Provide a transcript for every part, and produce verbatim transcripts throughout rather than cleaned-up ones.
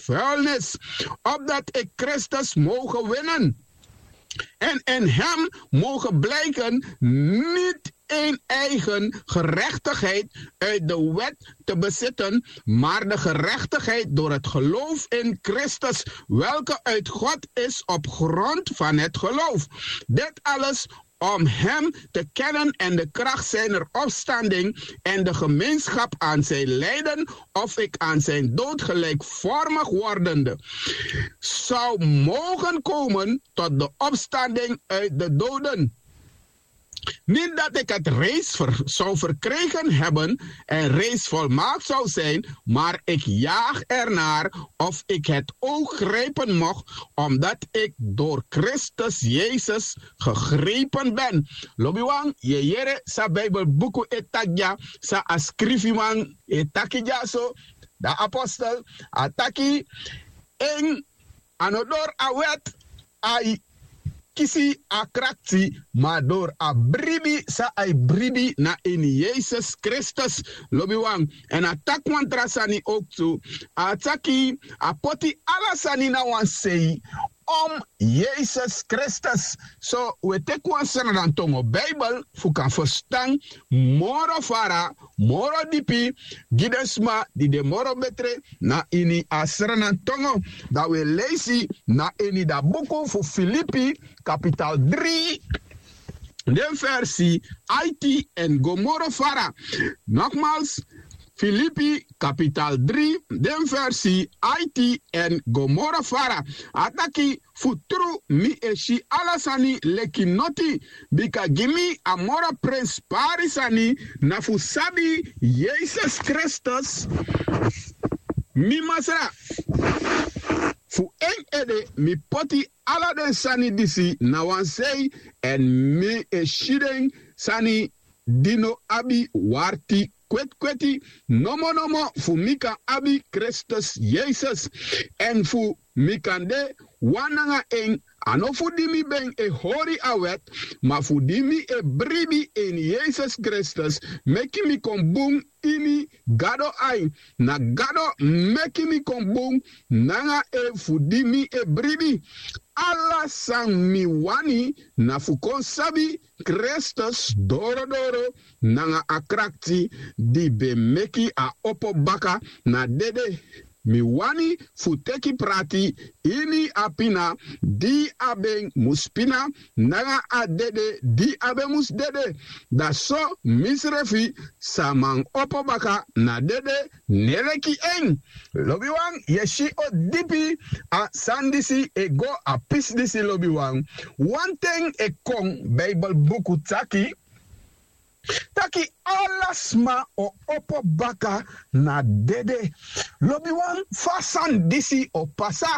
vuilnis, opdat ik Christus moge winnen en in hem moge blijken, niet een eigen gerechtigheid uit de wet te bezitten, maar de gerechtigheid door het geloof in Christus, welke uit God is op grond van het geloof. Dit alles om hem te kennen en de kracht zijner opstanding en de gemeenschap aan zijn lijden, of ik aan zijn dood gelijkvormig wordende zou mogen komen tot de opstanding uit de doden. Niet dat ik het reeds ver- zou verkregen hebben en reeds volmaakt zou zijn, maar ik jaag ernaar of ik het ook grijpen mocht, omdat ik door Christus Jezus gegrepen ben. Lobiwan, ye yere sa Bijbelbuku e taki dya, sa a skrifiman e taki dya so, da apostel a taki en a no dori a wet a e kisi a krakti, ma dori a bribi san a e bribi na ini Yesus Kristus. Lobiwan, èn a taki wan tra sani owktu, a taki a poti ala sani na wan sei om Yesus Kristus. So wi e teki wan sranan tongo Bijbel fu kan ferstan moro fara, moro dipi gi den sma di de moro betre na ini a sranan tongo. Dan wi e leisi na ini da buku fu Filipi, kapital dri, den versi aiti èn go moro fara. Nogmaals, Filipi, kapital dri, den versi aiti èn go moro fara. A taki, fu tru mi e si ala sani leki noti, bika gi mi a moro prenspari sani na fu sabi Yesus Kristus, mi Masra. Fu en ede mi poti ala den sani disi na wan sei, èn mi e si den sani di no abi warti kwetkweti, nomo nomo fu mi kan abi Kristus Yesus, èn fu mi kan de wan nanga en, a no fu di mi ben e hori a wet, ma fu di mi e bribi ini Yesus Kristus, meki mi kon bun ini Gado ai. Na Gado meki mi kon bun nanga en fu di mi e bribi. Ala san mi wani na fu kon sabi Kristus dorodoro nanga a krakti di ben meki a opo baka na dede. Mi wani fu teki prati ini a pina di a ben mus pina, nanga a dede di a ben mus dede. Da so misrefi sa man opo baka na dede, ne leki en. Lobiwan, yu e si o dipi a sani disi e go a pisi disi, lobiwan. Wan ten e kon, Bijbel buku taki, taki ala sma o opo baka na dede. Lobiwan, fa a sani disi o pasa?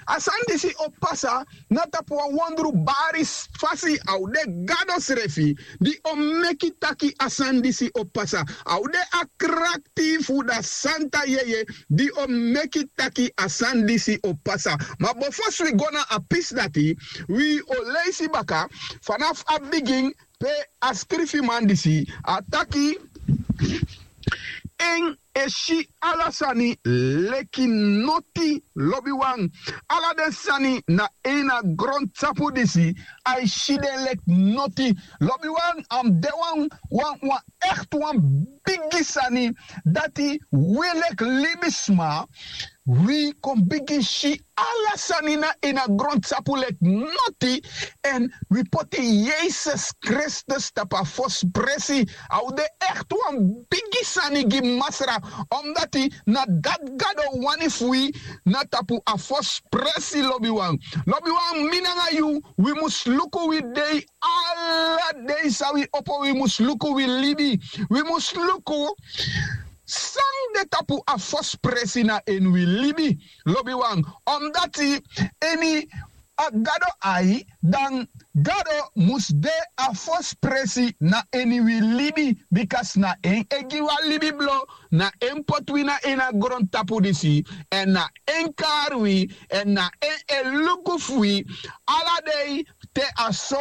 A sani disi o pasa na tapu wan wondru bari fasi. A o de Gado srefi di o meki taki a sani disi o pasa. A o de a krakti fu da santa yeye di o meki taki a sani disi o pasa. Ma bifo wi go na a pisi dati, wi o leisi baka fanafu a bigin pe a skrifiman disi a taki, en e si ala sani leki noti, lobiwan. Ala den sani na ini a grontapu disi, a e si den leki noti, lobiwan. A mus de wan, wan, wan ekti wan bigi sani dati wi leki libisma, wi kon bigin si ala sani na ini a grontapu leki noti, èn wi poti Yesus Kristus tapu a fosi presi. A o de ekti wan bigi sani gi Masra, omdati na dati Gado wani fu wi na tapu a fosi presi, lobiwan. Lobiwan, mi nanga yu, wi mus luku wi dei, ala dei san wi opo, wi mus luku wi libi. Wi mus luku san de tapu a fosi presi na ini wi libi, lobiwan. Omdati ini a Gado ai, dan Gado mus de a fosi presi na ini wi libi, bika na en e gi wi a libi blo, na en poti wi na ini a grontapu disi, èn na en kari wi, èn na en e luku fu wi ala dei te a so